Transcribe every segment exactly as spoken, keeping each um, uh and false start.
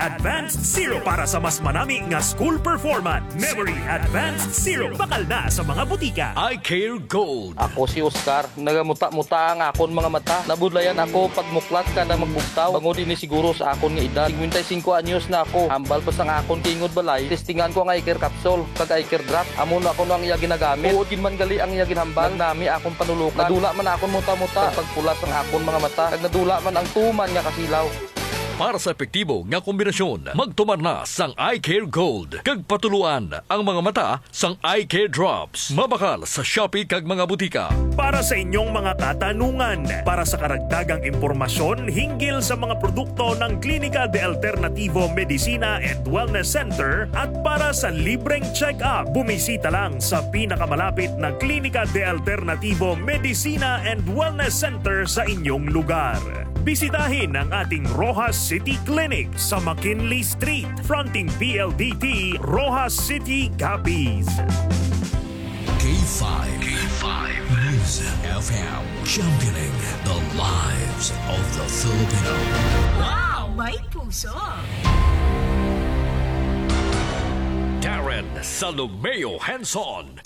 Advanced Syrup para sa mas manami nga school performance. Memory Advanced Syrup. Bakal na sa mga butika. Eye Care Gold. Ako si Oscar. Nagamuta-muta ang akon mga mata. Nabudlayan ako pagmuklat kada magbugtaw. Bangod ini siguro sa akon nga edad. Singkwenta y singko anyos na ako. Hambal pa sang akon tingod balay. Testingan ko ang Eye Care Capsule kag Eye Care Drop. Amo na ako ang iya ginagamit. Tuod gid man gali ang iya ginhambal. Nagnami akon panulukan. Nadula man akon muta-muta. Kag pagpula sang akon mga mata. Kag nadula man ang tuman nga kasilaw. Para sa epektibo nga kombinasyon, magtumar na sang Eye Care Gold kag patuluan ang mga mata sang Eye Care Drops. Mabakal sa Shopee kag mga butika. Para sa inyong mga katanungan, para sa karagdagang impormasyon hinggil sa mga produkto ng Klinika de Alternativo Medicina and Wellness Center at para sa libreng check-up, bumisita lang sa pinakamalapit na Klinika de Alternativo Medicina and Wellness Center sa inyong lugar. Bisitahin ang ating Roxas City Clinic sa McKinley Street, fronting P L D T, Roxas City, Capiz. K five, K five News F M, championing the lives of the Filipino. Wow! May puso! Darren Salomeo Henson.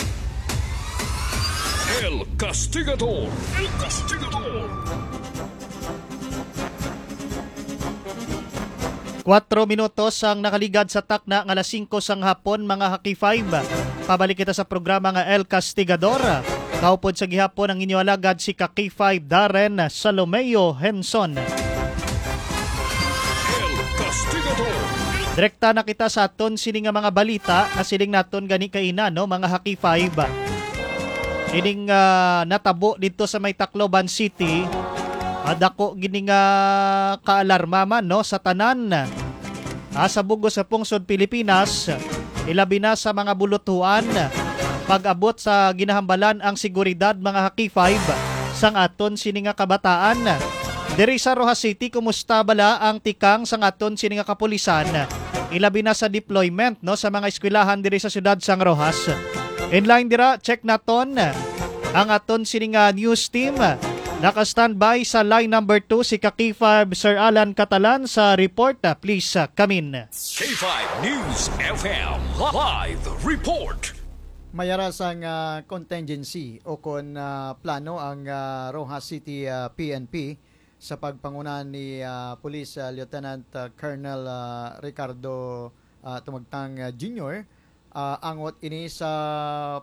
El Castigador. El Castigador. Kwatro minutos ang nakaligad sa takna nga alas singko sang hapon, mga ka-K five. Pabalik kita sa programa nga El Castigador. Kaupod sa gihapon ang inyo alagad, si ka-K five Darren Salomeo Henson. El Castigador. Direkta na kita sa aton sini nga mga balita nga siling naton gani kaina, no, mga ka-K five. Ining, ah, natabo dito sa may Tacloban City, ah, dako gini nga kaalarma man, no, sa tanan, ah, sa bug-os sa pungsod Pilipinas, ilabi na sa mga buluthuan. Pag-abot sa ginahambalan ang seguridad, mga ka-K five, sang aton sini nga kabataan. Diri sa Roxas City, kumusta bala ang tikang sang aton sini nga kapulisan? Ilabi na sa deployment, no, sa mga eskwelahan diri sa siyudad sang Roxas. In line dira, check naton ang aton sini nga news team. Naka-standby sa line number two si ka-K five Sir Alan Catalan sa report. Ah, please, ah, come in. K five News F M live report. Mayara sang, ah, contingency o kon, ah, plano ang, ah, Roxas City, ah, P N P sa pagpanguna ni, ah, Police, ah, Lieutenant, ah, Colonel, ah, Ricardo, ah, Tumagtang, ah, Junior, ah, angot ini sa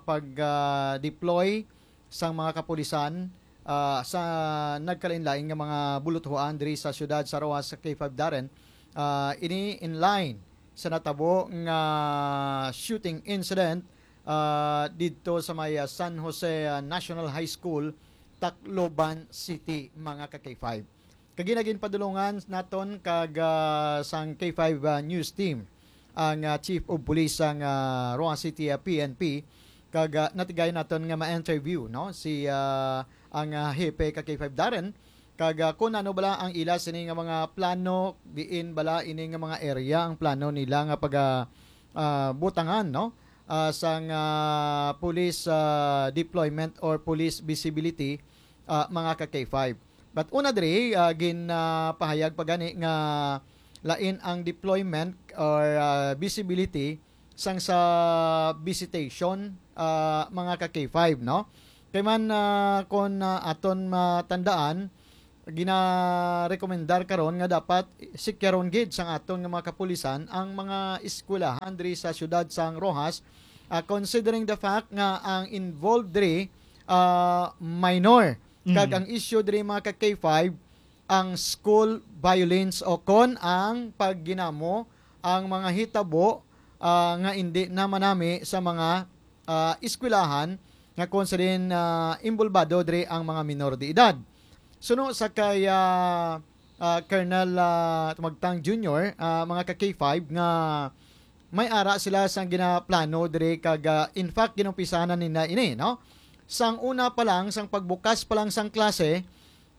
pag, ah, deploy sang mga kapulisan, ah, sa nagkalain-lain nga mga buluthuan diri sa siyudad sa Roxas, sa K five Darren. Ah, ini in line sa natabo nga shooting incident, ah, didto sa may, ah, San Jose, ah, National High School, Tacloban City, mga ka-K five. Kag ginaginpadulungan naton kag, ah, sang K five, ah, News Team ang, ah, Chief of Police sang, ah, Roxas City, ah, P N P, kag, ah, natigay naton nga ma-interview, no, si, ah, ang, ah, hepe ka K five Darren, kag, ah, kun ano bala ang ila sini nga mga plano, diin bala ini nga mga area ang plano nila nga pag, ah, ah, butangan, no, ah, sang, ah, police, ah, deployment or police visibility, ah, mga ka K five. But una diri, ah, ginapahayag pa gani nga lain ang deployment or, ah, visibility sang sa visitation, ah, mga ka K five, no? Kay man, ah, kon, ah, aton matandaan, ginarekomendar karon nga dapat sikyaron gid sang aton nga mga kapulisan ang mga eskwelahan diri sa siyudad sang Roxas, ah, considering the fact nga ang involved diri, ah, minor. Kag Mm. ang issue diri, mga ka K five, ang school violence o kon ang pagginamo, ang mga hitabo, ah, nga indi na manami sa mga, ah, eskwelahan nga kon sa din, ah, involbado diri ang mga minor de edad. Suno sa kay, ah, ah, Colonel, ah, Tumagtang Junior, ah, mga ka K five, nga may ara sila sang ginaplano diri kag, ah, in fact, ginumpisahan na nila ini, no? Sang una pa lang, sang pagbukas pa lang sang klase,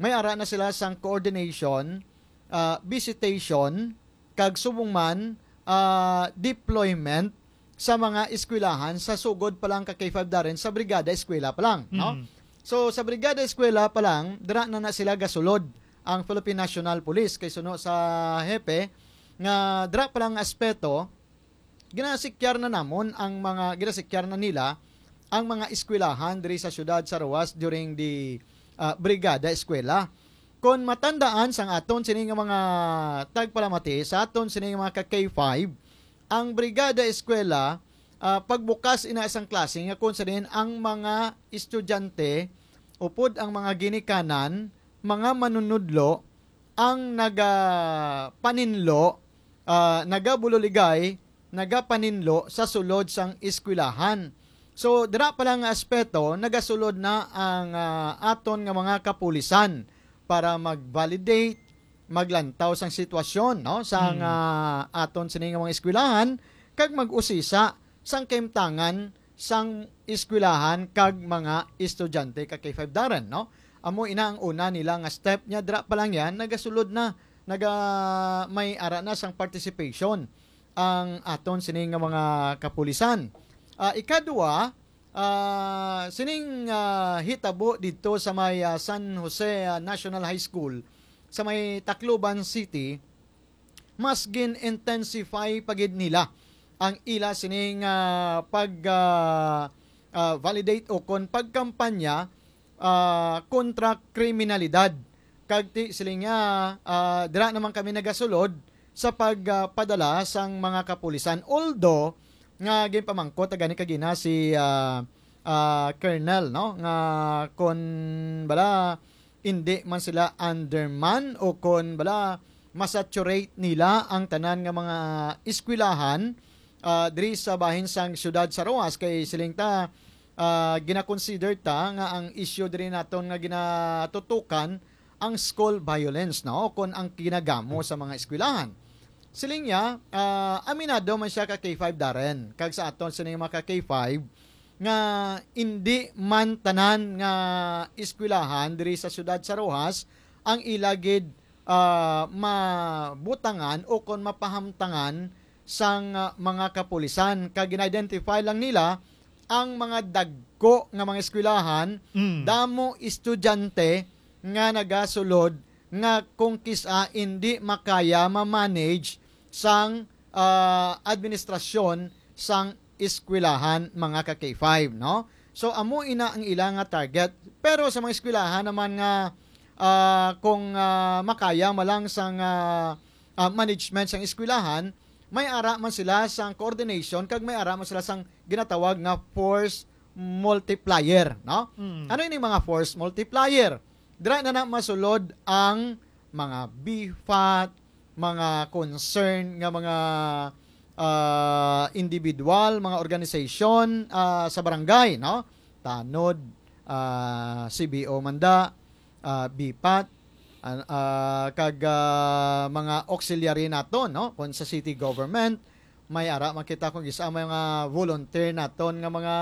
may ara na sila sang coordination, ah, visitation, kag subong man, ah, deployment sa mga eskwelahan sa sugod pa lang ka K five Darren sa Brigada Eskwela pa lang, no? Mm. So, sa Brigada Eskwela pa lang, dira na na sila gasulod ang Philippine National Police kay suno sa hepe, nga dira pa lang aspeto, ginasikyar na namon ang mga, ginasikyar na nila ang mga eskwelahan diri sa siyudad sa Roxas during the, ah, Brigada Eskwela. Kon matandaan sang aton sini nga mga tagpalamati, sa aton sini nga mga ka K five, ang Brigada Eskwela, ah, pagbukas ina sang klase nga kung sa diin ang mga estudyante upod ang mga ginikanan, mga manunudlo, ang nagapaninlo, ah, nagabululigay, nagapaninlo sa sulod sang eskwelahan. So, dira pa lang nga aspeto, nagasulod na ang, ah, aton nga mga kapulisan para mag-validate, maglantaw sang sitwasyon, no, sang, Mm. ah, aton sini nga mga eskwelahan, kag mag-usisa sang kahimtangan sang eskwelahan kag mga estudyante ka K five, Darren, no? Amo ina ang una nila nga step niya, dira pa lang yan, nagasulod na, naga-, may ara na sang participation ang aton sini nga mga kapulisan. Ah, ikadua, ah, sining, ah, hitabo didto sa may, ah, San Jose, ah, National High School sa may Tacloban City, mas gin-intensify pa gid nila ang ila sining, ah, pag, ah, ah, validate o kon pagkampanya, ah, kontra kriminalidad. Kag ti, siling niya, ah, dira naman kami nagasulod sa pagpadala sang mga kapulisan. Although, nga ginpamangkot na gani kagina si, ah, ah, Colonel, no, nga kon bala indi man sila underman o kon bala masaturate nila ang tanan nga mga eskwelahan, ah, diri sa bahin sang siyudad sa Roxas, kay siling ta, ah, gina-consider ta nga ang issue diri naton nga ginatutukan ang school violence, no, kon ang kinagamo sa mga eskwelahan. Siling niya, ah, aminado man siya ka K five, Darren, kag sa aton sining mga ka K five, nga indi man tanan nga eskwelahan diri sa siyudad sa Roxas ang ila gid, ah, mabutangan o kon mapahamtangan sang, ah, mga kapulisan. Kag gin-identify lang nila ang mga dagko nga mga eskwelahan, Mm. damo estudyante nga nagasulod nga kung kis-a indi makaya ma-manage sang, ah, administrasyon sang eskwelahan, mga ka K five, no? So, amo ina ang ila nga target. Pero sa mga eskwelahan naman nga, ah, kung, ah, makaya man lang sang, ah, ah, management sang eskwelahan, may ara man sila sang coordination kag may ara man sila sang ginatawag nga force multiplier, no? Mm. Ano ini mga force multiplier? Dira na na masulod ang mga B fat, mga concern nga mga, ah, individual, mga organisasyon, ah, sa barangay, no? Tanod, ah, C B O man da, ah, B fat, ah, ah, kag, ah, mga auxiliary naton, no? Kung sa city government, may ara man kita kung isa mga volunteer naton nga mga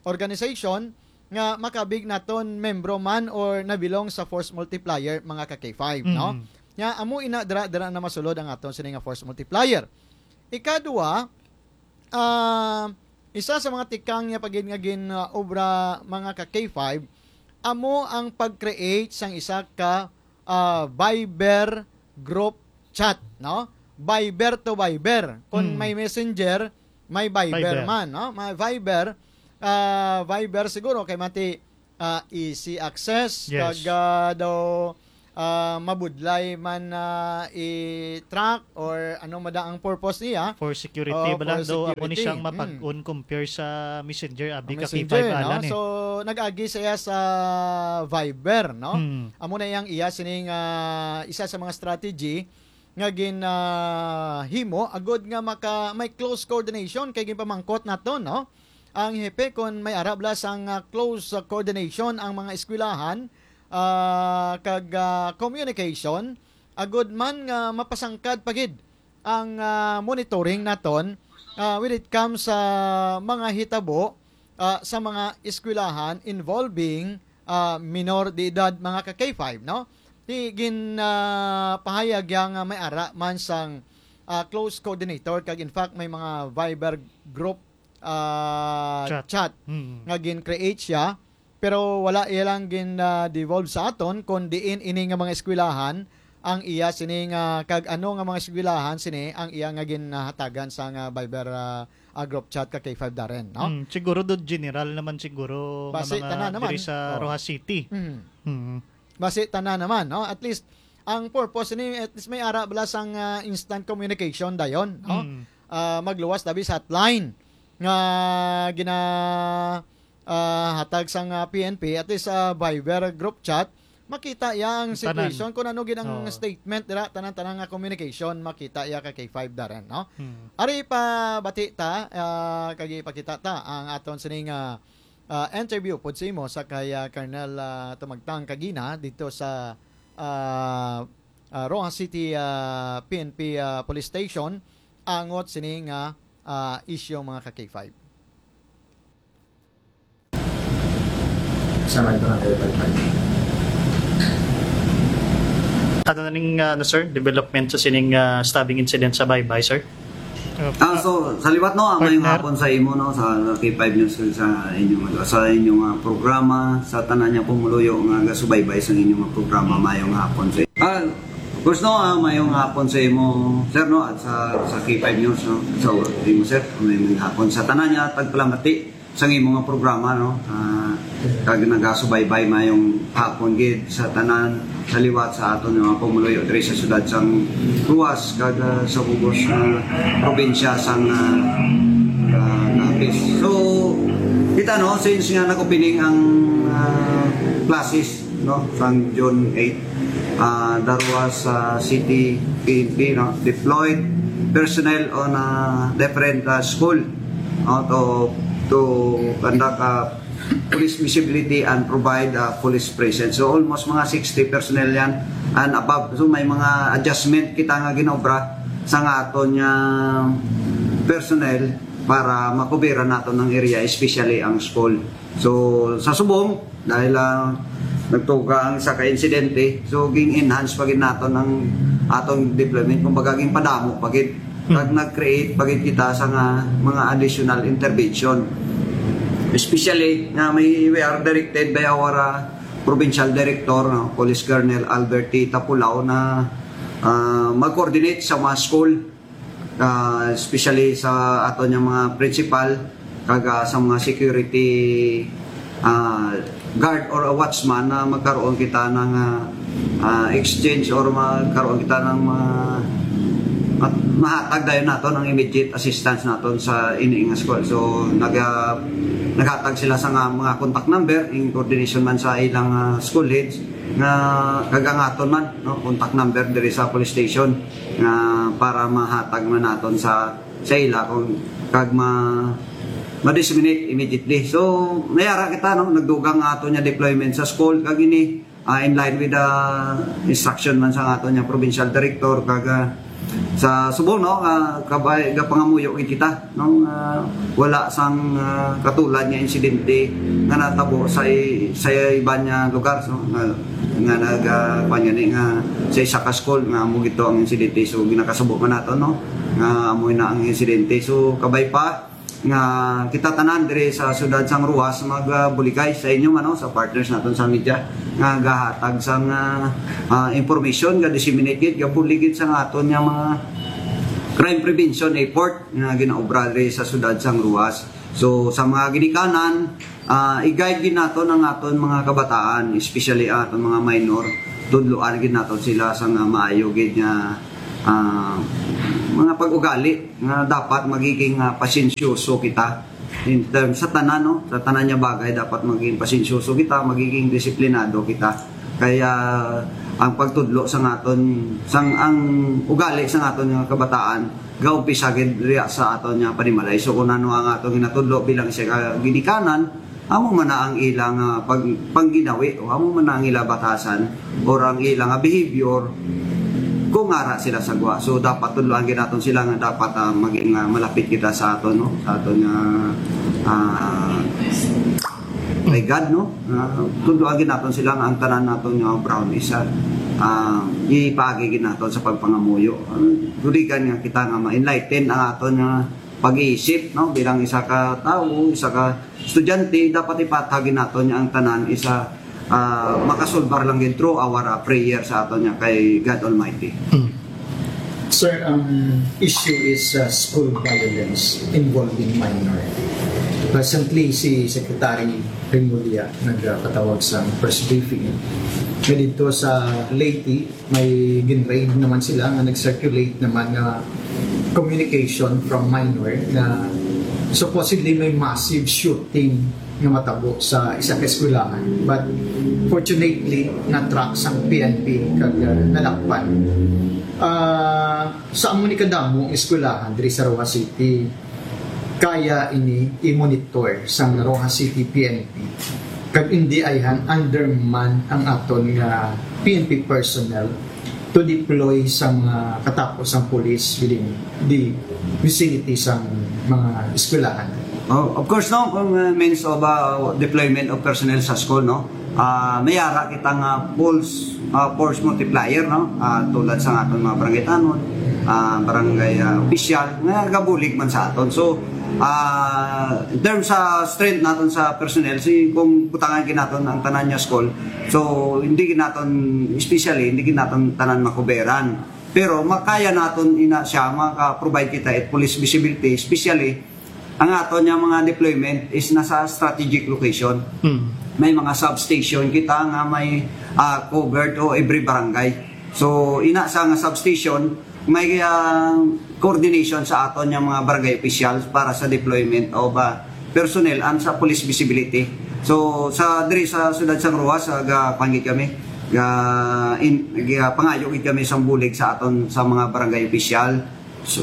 organization nga makabig naton membro man or nabilong sa force multiplier, mga ka K five, no? Mm. Nga amo ina dira, dira na masulod ang aton sini nga force multiplier. Ikadua, ah, isa sa mga tikang niya pagid nga gin, ah, obra, mga ka K five, amo ang pag-create sang isa ka, ah, Viber group chat, no? Viber to Viber. Kung Mm. may Messenger, may Viber Viber. man, no? May Viber, ah, Viber siguro kay mati, ah, easy access, Yes. kag, ah, daw, ah, mabudlay man na i-track or ano man ang purpose niya. For security Oh, ba lang for daw, amo ni security. siyang Mm. mapag-on compare sa Messenger, abi Ang ka Messenger, K five no? Alan eh. So, nag-agi siya sa Viber, no? Hmm. Amo na yang iya sining, ah, isa sa mga strategy nga gin, ah, himo agud nga maka, may close coordination kay ginpamangkot naton, no? Ang hepe kon may ara bala sang, ah, close, ah, coordination ang mga eskwelahan, ah, kag, ah, communication, agud man nga mapasangkad pa gid ang, ah, monitoring naton, ah, when it comes sa mga hitabo, ah, sa mga eskwelahan involving, ah, minor de edad, mga ka K five, no? Ti gin, ah, pahayag ya nga may ara man sang, ah, close coordinator kag in fact may mga Viber group, ah, Chat. chat Mm. nga gin-create siya, pero wala iya lang gin, ah, devolve sa aton kon diin ini nga mga eskwelahan ang iya sini nga, kag ano nga mga eskwelahan sini ang iya nga ginhatagan sa nga Viber, ah, ah, group chat ka K five, Darren, no? Mm, siguro do general naman siguro nga Basi mga tanan naman. diri sa Oh. Roxas City. Mhm. Mm. Basi tanan naman, no? At least, ang purpose ni, at least may ara bala sang, ah, instant communication dayon, no? Mm. Ah, magluwas tabi sa hotline nga gina ah, hatag sang, ah, P N P, at least sa Viber group chat, makita iya ang Tanan. situation kung ano gid ang Oo. statement dira, tanan-tanan nga communication makita iya ka K five, Darren, no? Mm. Ari pa bati ta, ah, kag ipakita ta ang aton sining, ah, ah, interview pud sa imo sa kay, ah, Colonel, ah, Tumagtang Kagina dito sa, ah, ah, Roxas City, ah, P N P, ah, Police Station angot sini nga, ah, issue, mga ka K five. Sa may barangay Balbal. Ano na ning, ah, ano, sir, development sa sining, ah, stabbing incident sa Baybay, sir? Ah, so, sa liwat, no, ah, mayong Partner. Hapon sa imo, no, sa K five News, sa inyong, sa inyong, ah, programa, sa tanan niya pumuluyo nga gasubaybay sa inyong, ah, programa, mayong hapon sa. Ah, of course, no, ah, mayong hapon sa imo, sir, no, at sa, sa K five News, no, sa imo, sir, mayong hapon sa tanan niya tagpalamati sa imo nga programa, no, ah, kag nagasubaybay, mayong hapon gid sa tanan sa liwat sa aton nga pumuluyo diri sa siyudad sang Roxas kag, ah, sa bug-os nga probinsya sang, ah, ah, Capiz. So, kita, no, since nga nag-opening ang, ah, classes, no, sang June eight, ah, the Roxas, ah, City P N P, no, deployed personnel on, ah, different, ah, school, no, to, to conduct, ah, police visibility and provide, ah, police presence. So, almost mga sixty personnel yan and above. So, may mga adjustment kita nga ginobra sa nga aton nga personnel para makubiran naton ang area, especially ang school. So, sa subong, dahil, ah, nagtuga ang isa ka insidente, so ging-enhance pa gid naton ang atong deployment, kumbaga ginpadamo pa gid, kag nag-create pa gid kita sa nga mga additional intervention. Especially nga may, we are directed by our, ah, provincial director, no, Police Colonel Albert T. Tapulaw, na, ah, mag-coordinate sa mga school, ah, especially sa aton nga mga principal, kag, ah, sa mga security, ah, guard or a watchman, na magkaroon kita ng, ah, ah, exchange or magkaroon kita ng mga, at mahatag dayon naton ang immediate assistance naton sa ini nga school. So, nag-, ah, naghatag sila sa nga mga contact number in coordination man sa ilang, ah, school heads nga kag ang aton man, no, contact number diri sa police station nga para mahatag man naton sa, sa ila kung kag ma ma-disseminate immediately. So, nayara kita, no, nagdugang nga aton nga deployment sa school kag ini, ah, in line with the instruction man sa aton nga provincial director kag, ah, sa subong, no, nga kabay gapangamuyo gid kita, no, nga wala sang, ah, katulad nga insidente nga natabo sa i-, sa iban nga lugar, no, nga, nga nag, ah, kuwan gani nga sa isa ka school nga amo gito ang insidente. So, ginakasubo man nato, no, nga amo na ang insidente. So, kabay pa nga kita tanan diri sa siyudad sang Roxas magbuligay sa inyo man, no, sa partners naton sa media nga gahatag sang, ah, ah, information, ga-disseminate gid, gabulig gid sa nga aton nga mga crime prevention effort nga ginaobra diri sa siyudad sang Roxas. So, sa mga ginikanan, ah, i-guide gid naton ang aton mga kabataan, especially ang aton mga minor. Tudloan gid naton sila sa nga maayo gid nga, ah, mga pag-ugali nga dapat magiging, ah, pasensyoso kita in terms sa tanan, no? Sa tanan nga bagay dapat magiging pasensyoso kita, magiging disiplinado kita. Kaya ang pagtudlo sa aton, sang ang ugali sa aton nga kabataan, gaumpisa gid diya sa aton nga panimalay. So, kung ano ang aton ginatudlo bilang isa ka ginikanan, amo man na ang ilang, ah, pag-, pangginawi, o amo man na ang ilang batasan, or ang ilang, ah, behavior, kung ara sila sa gwa. So, dapat tudloan gid naton sila nga dapat, ah, maging, ah, malapit kita sa aton, no? Sa aton nga, ah, kay God, no? Ah, tudloan gid naton sila nga ang tanan naton nga brown is, ah, ah, ipaagi gid naton sa pagpangamuyo. Ah, guligan nga kita nga ma-enlighten ang aton nga pag-iisip, no? Bilang isa ka tawo, isa ka estudyante, dapat ipatag gid naton nga ang tanan isa, Ah, makasulbar lang gid through our, ah, prayer sa aton nga kay God Almighty. Sir, ang issue is uh, school violence involving minor. Recently, si Secretary Remulla nagpatawag sa press briefing nga dito sa Leyte, may gin-raid naman sila nga nag-circulate naman nga communication from minor na supposedly may massive shooting nga matabo sa isa ka eskwelahan. But fortunately, na-track sang P N P kag uh, nalakpan. Uh, sa amo ni kadamo ang eskwelahan diri sa Roxas City, kaya ini i-monitor sang Roxas City P N P. Kag hindi ayhan underman ang aton nga P N P personnel to deploy sa mga katapos sang police within the vicinity sang mga eskwelahan. Oh, of course, no, kung uh, means of uh, deployment of personnel sa school, no, uh, may ara kita nga force, uh, force multiplier, no, uh, tulad sa aton mga barangay tanod, uh, barangay uh, official nga gabulig man sa aton. So, uh, in terms sa strength naton sa personnel, si kung butangan gid naton ang tanan nga school, so hindi gid naton, especially hindi gid naton tanan makuberan. Pero makaya naton ina siya, maka-provide kita it police visibility, especially ang aton nga mga deployment is nasa strategic location. Hmm. May mga substation kita nga may uh, covered o every barangay. So ina sa nga substation may uh, coordination sa aton nga mga barangay officials para sa deployment of uh, personnel and sa police visibility. So sa diri sa siyudad sang Roxas, uh, ga pangit kami ga in, ga pangayo gid kami sang bulig sa aton sa mga barangay official,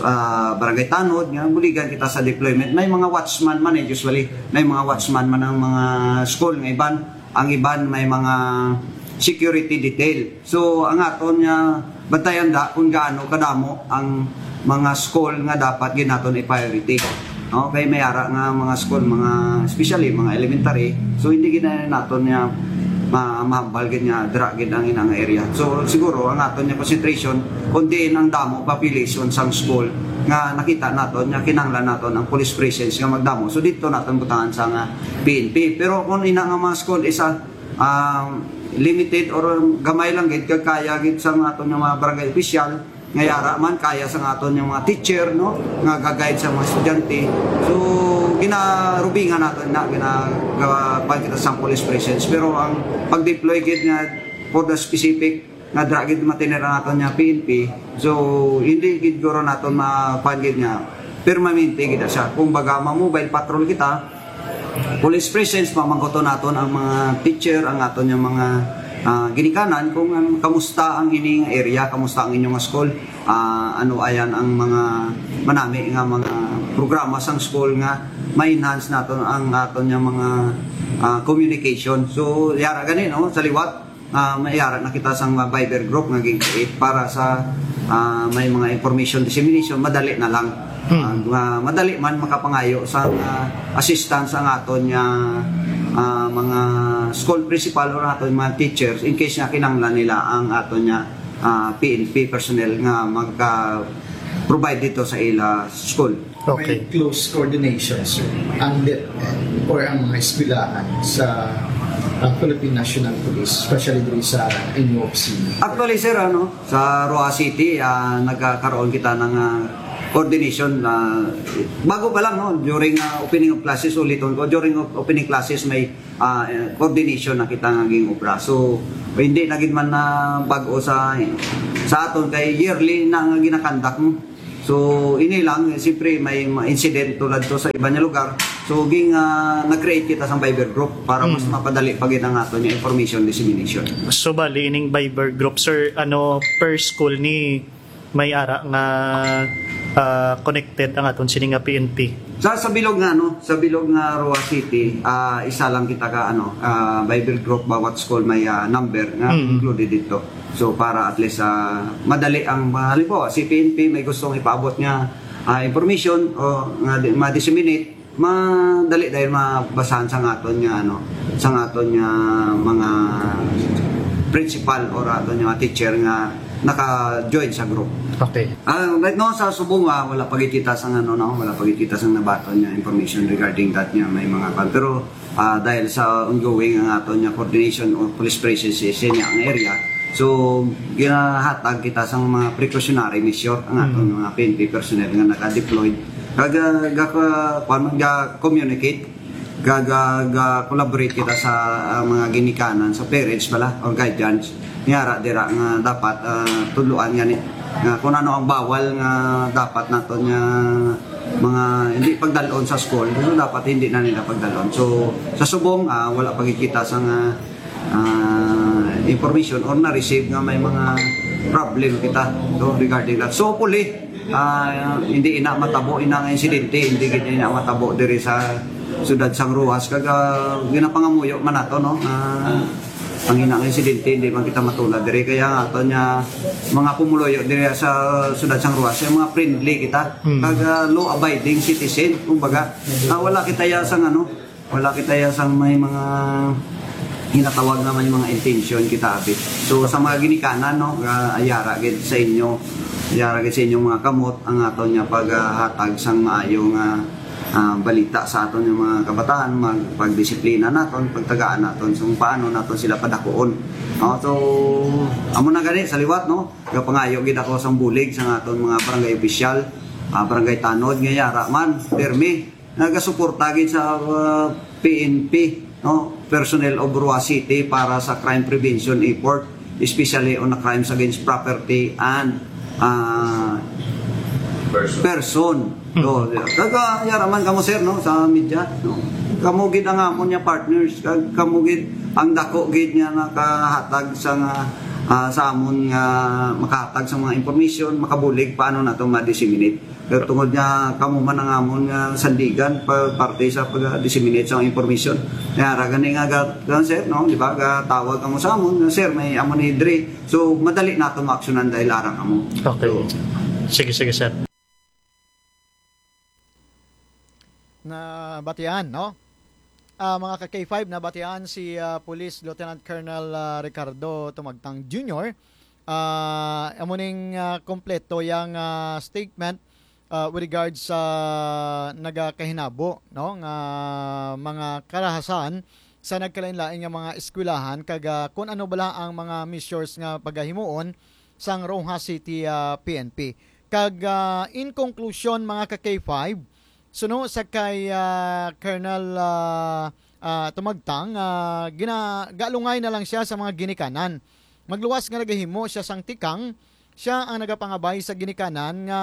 uh, barangay tanod nga buligan kita sa deployment. May mga watchman man eh, usually may mga watchman man ang mga school nga iban, ang iban may mga security detail. So ang aton nga bantayan da kung gaano kadamo ang mga school nga dapat ginaton i-priority. No? Kay may ara nga mga school, mga especially mga elementary, so hindi gid naton nga ma mahambal gid nga dira gid ang inang area. So siguro ang aton nga concentration kundi ang damo population sang school nga nakita naton nga kinahanglan naton ang police presence nga magdamo. So dito naton butangan sa nga P N P. Pero kung ina nga mga school isa um, limited or gamay lang gid kag kaya gid sa aton nga mga barangay official, nga yara man kaya sa aton nga mga teacher, no, nga ga-guide sa mga estudyante. So ginarubingan naton na ginakuan kita sang police presence, pero ang pag-deploy gid nga for the specific nga dira gid matinir ang aton nga P N P, so hindi gid guro naton makuan gid nga permanente gid siya. Kung baga ma-mobile patrol kita, police presence, mamangkuton naton ang mga teacher, ang aton nga mga uh, ginikanan kung um, kamusta ang ining area, kamusta ang inyong school, uh, ano ayan ang mga manami nga mga programa sang school nga ma-enhance naton ang aton nga mga uh, communication. So yara gani, no, sa liwat uh, mayara na kita sang Viber group nga gin-create para sa uh, may mga information dissemination, madali na lang. Hmm. Uh, madali man makapangayo sa uh, assistance ang aton nga uh, mga school principal or aton mga teachers in case nga kinanglan nila ang aton nga uh, P N P personnel nga magka provide dito sa ila school. Okay. May close coordination, sir, ang DepEd or ang mga eskwelahan sa uh, Philippine National Police, especially diri sa inyo opisina? Actually, sir, ano, sa Roxas City, uh, nagkakaroon kita ng uh, coordination uh, bago pa lang, no, during uh, opening of classes, uliton ko, during of opening classes may uh, coordination na kita nga ging obra. So hindi na gid man na bag-o sa sa aton kay yearly na nga ginakandak mo. So ini lang, siyempre may incident tulad to sa iba nga lugar. So ging uh, nag-create kita sa Viber group para mas mm. mapadali pa gid ang aton nga information dissemination. So bali ining Viber group, sir, ano, per school ni may ara nga uh, connected ang aton sini nga P N P. Sa sa bilog nga ano, sa bilog nga Roxas City, uh, isa lang kita ka ano, uh, Bible group bawat school may uh, number nga mm. included dito. So para at least uh, madali ang uh, halimbawa si P N P may gustong ipaabot nga uh, information o nga ma-disseminate, madali dahil mabasahan sa aton nga ano, sa aton nga mga principal or aton nga teacher nga naka-join sa group. Okay. Ah, right now sa Subong, ah, wala pa gid kita sang ano, no, wala pa gid kita sang nabaton nga information regarding that nga may mga kan. Pero ah, dahil sa ongoing ang aton nga coordination o police presence sa area, so ginahatag kita sang mga precautionary measure ang aton mga P N P personnel nga naka-deployed kag ah, ga, kuwan man, ga-communicate, ga, ga, ga-collaborate kita sa ah, mga ginikanan, sa parents pala or guardians, nga ara dira nga dapat ah, tudloan gani nga kung ano ang bawal nga dapat naton nga mga hindi pagdalon sa school, so dapat hindi na nila pagdalon. So sa Subong, ah, wala pa gid kita sa nga ah, information or na-receive nga may mga problem kita, no, regarding that. So hopefully, ah, hindi ina matabo ina nga insidente, hindi gid ina matabo diri sa siyudad sang Roxas, kag ah, ginapangamuyo man nato, no, ah, ang ina nga insidente hindi man kita matulad diri, kaya nga aton nga mga pumuluyo diri sa siyudad sang Roxas, yung mga friendly kita, kag ah, law-abiding citizen, kumbaga, ah, wala kita ya sang ano, wala kita ya sang may mga ginatawag nga may mga intention kita, abi. So sa mga ginikanan, no, ah, ayara gid sa inyo, ayara gid sa inyong mga kamot ang aton nga paghatag sang maayo nga ah, balita sa aton nga mga kabataan, mag pagdisiplina naton, pagtagaan naton kung paano naton sila padakuon. No? So amo na gani sa liwat, no, gapangayo gid ako sang bulig sa aton mga barangay opisyal, ah, barangay tanod nga yara man, pirmi nagasuporta gid sa ah, P N P, no, personnel of Roxas City para sa crime prevention effort, especially on the crimes against property and ah, person. So, kag ah, yara man kamo, sir, no, sa media, no. Kamo gid ang amon nga partners, kag kamo gid ang dako gid nga nakahatag sa nga ah, sa amon nga makahatag sa mga information, makabulig paano nato ma-disseminate. Pero tungod nga kamo man ang amon nga sandigan pa parte sa pag-disseminate sa information. Kaya ra gani nga ga, ga, sir, no, di ba, gatawag kamo sa amon nga, "Sir, may amo ni diri." So madali nato maaksyonan dahil ara kamo. Okay. Sige, sige, sir. Nabatian, no? Ah, mga ka K five, nabatian si ah, Police Lieutenant Colonel ah, Ricardo Tumagtang Junior. Ah, amo ning ah, kompleto yang ah, statement ah, with regards sa nagakahinabo, no, nga mga karahasan sa nagkalain-lain nga mga eskwelahan, kag ah, kung ano bala ang mga measures nga pagahimuon sang Roxas City ah, P N P. Kag ah, in conclusion, mga ka K five, suno sa kay ah, Colonel ah, ah, Tumagtang, ah, gina, galungay na lang siya sa mga ginikanan. Magluwas nga nagahimo siya sang tikang, siya ang nagapangabay sa ginikanan nga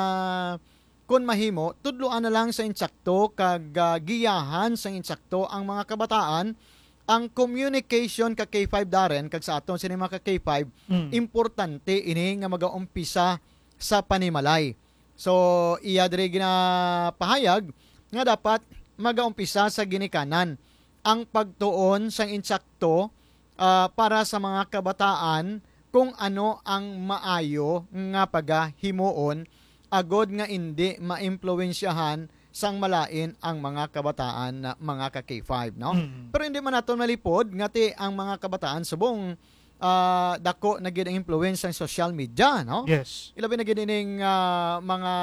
kon mahimo, tudloan na lang sa insakto kag ah, giyahan sa insakto ang mga kabataan. Ang communication ka K five, Darren, kag sa aton sini mga ka K five, Mm. importante ini nga magaumpisa sa panimalay. So, iya diri ginapahayag nga dapat magaumpisa sa ginikanan ang pagtuon sang insakto ah, para sa mga kabataan kung ano ang maayo nga pagahimuon agod nga indi maimpluwensyahan sang malain ang mga kabataan na mga ka K five, no? Mm. Pero hindi man naton malipod nga ti ang mga kabataan subong ah, dako na gid ang influence sang social media, no? Yes. Ilabi na gid ining ah, mga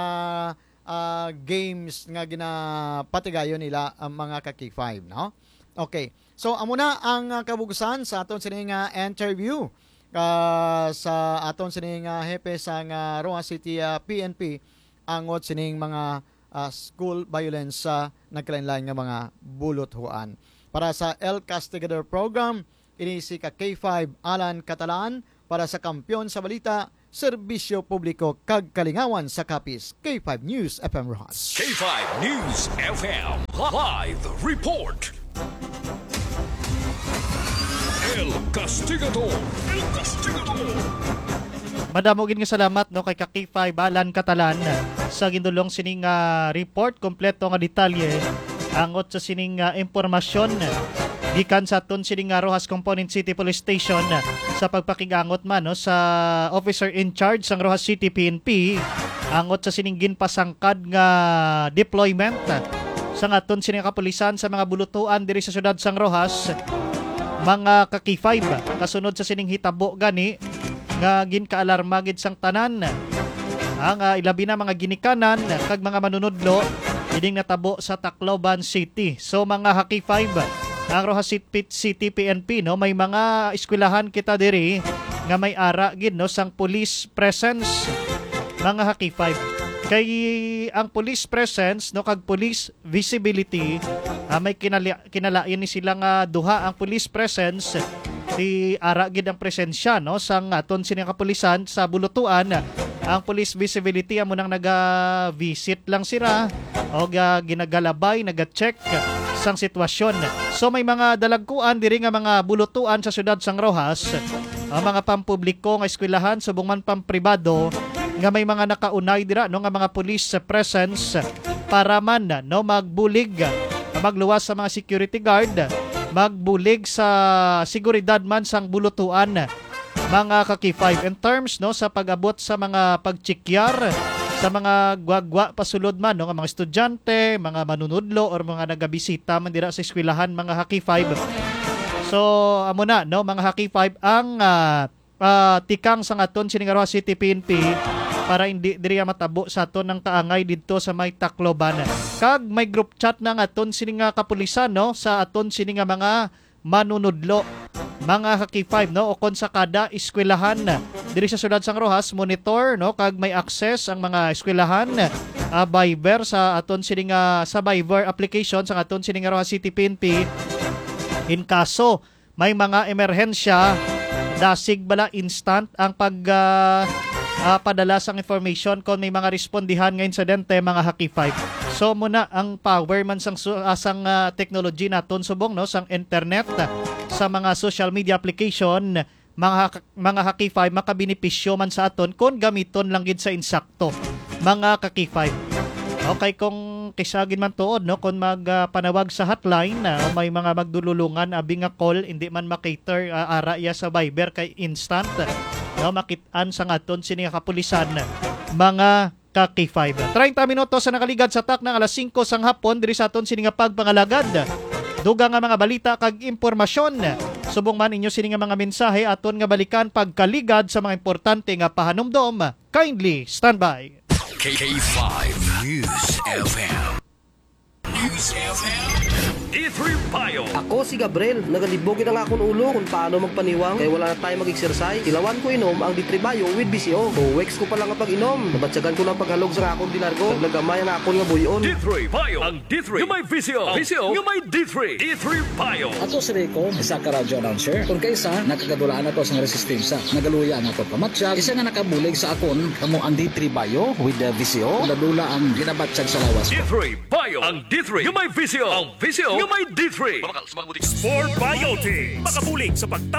ah, games nga ginapatigayon nila ang mga ka K five, no? Okay. So amo na ang ah, kabugusan sa aton sini nga interview ah, sa aton sini nga hepe sa nga Roxas City ah, P N P angot sining mga ah, school violence sa nagkalainlain nga mga buluthuan. Para sa El Castigador Program, ini si ka K five Alan Catalan para sa Kampiyon sa Balita, Serbisyo Publiko kag Kalingawan sa Capiz, K five News F M Roxas. K five News F M Live Report. El Castigador. El Castigador. Madamo gid nga salamat, no, kay ka K five Alan Catalan sa gindulong sining ah, report, kompleto nga detalye angot sa sining ah, impormasyon gikan sa aton sining ah, Roxas Component City Police Station sa pagpakigangot man, no, sa officer in charge sang Roxas City P N P angot sa sining ginpasangkad nga deployment sang aton sining kapulisan sa mga bulutuan diri sa siyudad sang Roxas, mga ka K five. Kasunod sa sining hitabo gani, nga ginkaalarma gid sang tanan ang, ah, ilabi na mga ginikanan kag mga manunudlo ining natabo sa Tacloban City. So, mga Haki Five, ang Roxas City, City P N P, no, may mga eskwelahan kita diri nga may ara gid, no, sang police presence, mga Haki Five. Kay ang police presence, no, kag police visibility, ah, may kinali-, kinalain ni sila nga duha ang police presence. Ti ara gid ang presensya, no, sang aton sini nga kapulisan sa Bulutuan. Ang police visibility amo nang naga-visit lang sila o ga-, ginagalabay, naga-check sang sitwasyon. So, may mga dalagkuan diri nga mga bulutuan sa siyudad sang Roxas, ang mga pampubliko nga eskwelahan subong man pampribado nga may mga nakaunay dira, no, nga mga police presence para man, no, magbulig, magluwas sa mga security guard, magbulig sa seguridad man sang bulutuan, mga Haki Five. In terms, no, sa pag-abot sa mga pagchikyar sa mga gwagwa pasulod man, no, nga mga estudyante, mga manunudlo, or mga nagabisita man dira sa eskwelahan, mga Haki Five. So, amo na, no, mga Haki Five, ang, ah, ah, tikang sa aton sini nga Roxas City P N P para hindi diri matabo sa aton ang kaangay didto sa may Tacloban. Kag may group chat na nga aton sini nga kapulisan, no, sa aton sini nga mga manunudlo, mga Haki Five, no, o kon sa kada eskwelahan diri sa siyudad sang Roxas, monitor, no, kag may access ang mga eskwelahan, ah, Viber sa aton sini nga, sa Viber application sa aton sini nga Roxas City P N P. In kaso may mga emerhensya, dasig bala, instant ang pag, ah, ah, padala sang information kon may mga respondihan nga insidente, mga Haki Five. So, muna ang power man sang su-, ah, sang, ah, technology naton subong, no, sang internet, sa mga social media application, mga hak-, mga Haki Five, makabenepisyo man sa aton kon gamiton lang gid sa insakto, mga ka-K five. Okay, kung kisa gid man tuod, no, kung mag, ah, panawag sa hotline, ah, may mga magdululungan, abi nga call, hindi man makater, ah, ara iya sa Viber kay instant, no, makit-an sa ngaton sini nga kapulisan, mga ka-K five. Treinta minutos sa nakaligad sa takna nga alas singko sang hapon diri sa aton sini nga pagpangalagad. Dugang nga mga balita kag impormasyon. Subong man inyo sini nga mga mensahe, aton nga balikan pagkaligad sa mga importante nga pahanumdom. Kindly stand by. K five News F M. News F M. D three Bio. Ako si Gabriel. Nagalibog gid ang akon ulo kung paano magpaniwang kay wala na tayo mag-exercise. Tilawan ko inom ang D three Bio with V C O. Two weeks ko pa lang ang pag-inom. Nabatyagan ko lang paghalog sa akon di largo. Kag nagamay ang akon nga buy-on. D three Bio. Ang D three nga may V C O. V C O nga may D three. D three Bio. Ato si Rico, isa ka radyo announcer. Kung kaisa, nakagadulaan ato sang resistensya. Nagaluya ang akon pamatyag. Isa nga nakabulig sa akon, kamo ang D three Bio with the V C O. Dula-dula ang ginabatyag sa lawas ko. D three Bio. Ang D three nga may V C O. Ang V C O nga may D three. Sport Biotics. Makabulig sa pagtapos